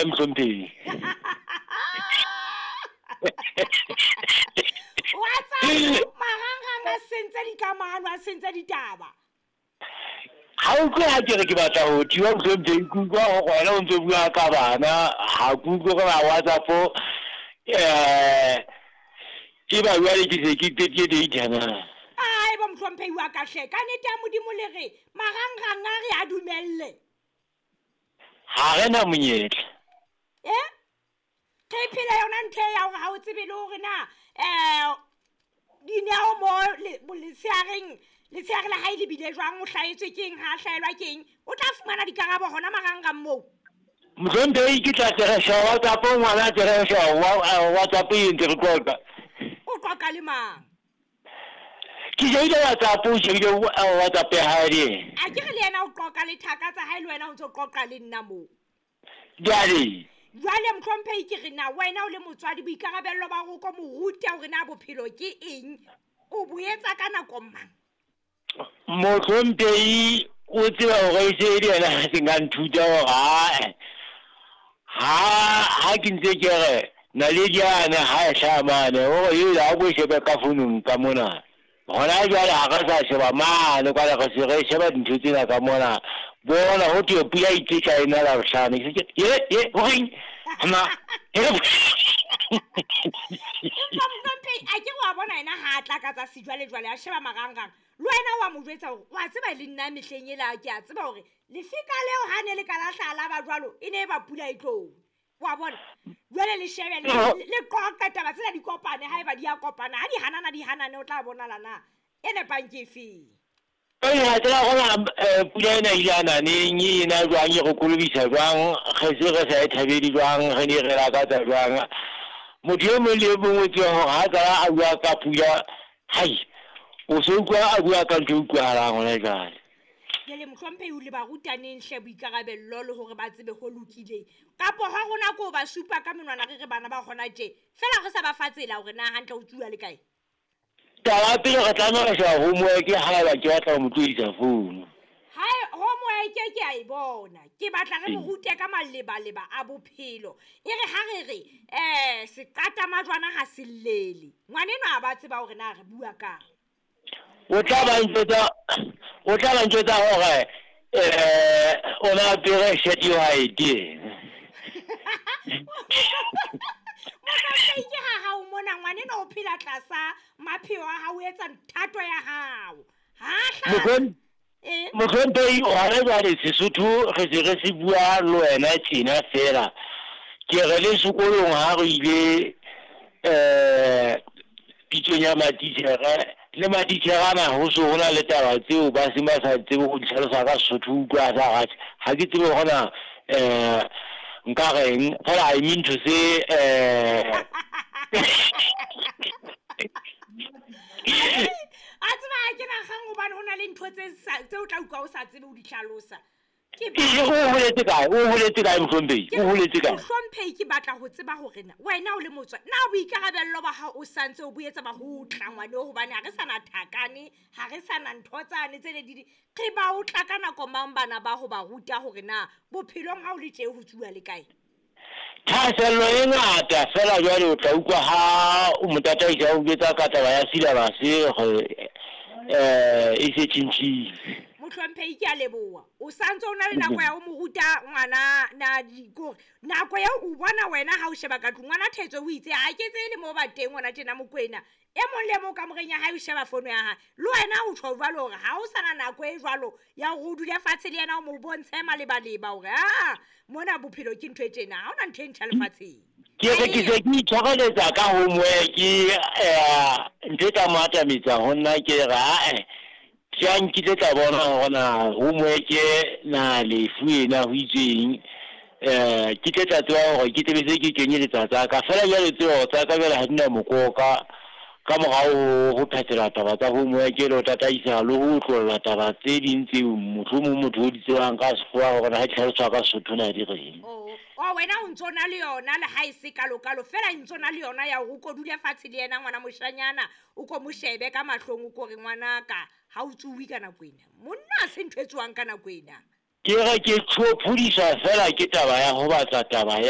Mohlomphehi. WhatsApp marangrang a sentse dikamano, a sentse ditaba. Ha o utlwe ha ke re ke batla ho thiba mohlomphehi, ke utlwa hore wena o ntso bua ka bana, ha ke utlwe gore na WhatsApp ke ba jwale ke se ke qetile data na. Ai bo mohlomphehi wa ka hle, ka nnete ya Modimo le re marangrang a re a dumelle. Ha re na monyetla. Eh? Re phela yona ntho e ya hore ha o tsebe le hore na dineo mo letsheareng, letsheare la hae le bile jwang, o hlahetswe keng, ha a hlahelwa keng, o tla fumana dikarabo hona marangrang moo. Mohlomphehi ke tla teresha WhatsApp, ngwana teresha WhatsApp e ntse re qoqa. O qoqa le mang? Ke shebile WhatsApp, o shebile WhatsApp ya hae le yena. A ke re le yena o qoqa le thaka tsa hae, le wena o ntso qoqa le nna moo. Jwale. Jwale mohlomphehi ke re na wena o le motswadi boikarabello ba hore o ko mo rute hore na bophelo ke eng, o bo etsa ka nako mang? Mohlomphehi o tseba hore e se e le yena a seng a nthuta hore ae ha ke ntse ke re naledi yane ha e hlaha mane hore ela ha ko shebe ka founung ka mona. Hona jwale ha re sa sheba mane kwale, re se re sheba dintho tsena ka mona. Bona ho thwe pula e tla e na Labohlano. Ye ye horeng? Na. Empa mohlomphehi a ke wa bona yena ha a tla ka tsa sejwalejwale a sheba marangrang. Le wena wa mo jwetsa hore wa tseba le nna mehleng ela ke a tseba hore lefika leo ha ne le ka la hlaha la ba jwalo e ne e ba pula e tlo. Wa bona? Jwale le shebe le qoqe taba tsena di kopane, haeba di a kopana, ha di hanana di hanane, o tla bonala na e nepang ke efeng. Ha tsela gona pula ena ile a naneng, e na jwang, e re kolobisa jwang, re se re sa e thabele jwang, re ne re lakatsa jwang. Motho e mong le e mong o tseba hore ha tsala a bua ka pula, hai, o se utlwa a bua ka ntho e utlwahalang hona jwale. Jwale mohlomphehi o le ba rutaneng hle boikarabello le hore ba tsebe ho lokileng. Kapo ha rona ko ba supa ka menwana re re bana ba hona tje, fela re sa ba fa tsela hore na hantle ho tsuwa le kae. Taba pele re tlameha ho sheba homework haeba ke batla ho mo tlohisa founu. Hae homework ke a e bona. Ke batla re mo rute ka malebaleba a bophelo. E re ha re re seqata majwana ha se llele. Ngwanenwa a ba tseba hore na re bua kang. O tla ba ntjwetsa hore o na apere shirt e white. Mohlomphehi ke ha hao mona ngwanenwa o phela tlasa mapheo a hao, o etsa thato ya hao. Ha hla. Mohlomphehi hona jwale Sesotho re se re se bua le wena tjena fela. Ke re le sekolong ha re ile pitsong ya matitjhere, le matitjhere ana ho so hona le taba tseo ba seng ba sa tsebe ho di hlalosa ka Sesotho, utlwa sa ratjhe. Ha ke tsebe hore na nka reng, fela I mean to say a tseba ha ke na kgang hobane ho na le ntho tse o tla utlwa o sa tsebe ho di hlalosa. O holetse kae? O holetse kae mohlomphehi? O holetse kae? Mohlomphehi ke batla ho tseba hore na wena o le motswadi, na boikarabello ba hao o santse o bo etsa ba ho tla ngwane hobane ha re sa na thakane, ha re sa na ntho tsane tse ne di re ba o tla ka nako mang bana ba ho ba ruta hore na bophelong ha o le tje ho tsuwa le kae? Thahasello e ngata fela jwale o tla utlwa ha o mo tataisa o jwetsa ka taba ya syllabus hore e se tjhentjhile. Mohlomphehi ke a leboha. O santse o na le nako ya ho mo ruta ngwana na dikore. Nako eo o bona wena ha o sheba ka tlung ngwana Thetso o itse ha ke tsebe le mo ba teng ngwana tjena Mokwena. E mong le mong kamoreng ya hae o sheba fono ya hae. Le wena o tjho jwalo hore ha o sana nako e jwalo ya hore o dule fatshe le yena o mo bontshe malebaleba hore mona bophelo ke ntho e tjena, ha hona ntho e ntjha lefatsheng. Ke re ke se ke itshwareletsa ka homework ntho e tla mo atametsa ho nna ke re ae ke nkile tla bona hore na homework na lefu ena ho itsweng ke tle tla tseba hore ke tlebe se ke kenyeletsa tsa ka fela jwale tsebo tsa ka jwale ha di na mokoka ka morao ho phethela taba tsa homework le ho tataisa le ho otlolla taba tse ding tseo mohlomong motho o di tsebang ka sekgowa hore ha di tlhaloswa ka Sesotho na di reng. O wena o ntso na le yona le ha e se kalokalo fela ntso na le yona ya hore o ko dule fatshe le yena ngwana moshanyana o ko mo shebe ka mahlong o ko re ngwanaka ha o tsuwe ka nako ena. Monna ha se ntho e tswang ka nako ena. Ke re ke tshophodiswa fela ke taba ya ho batla taba ya.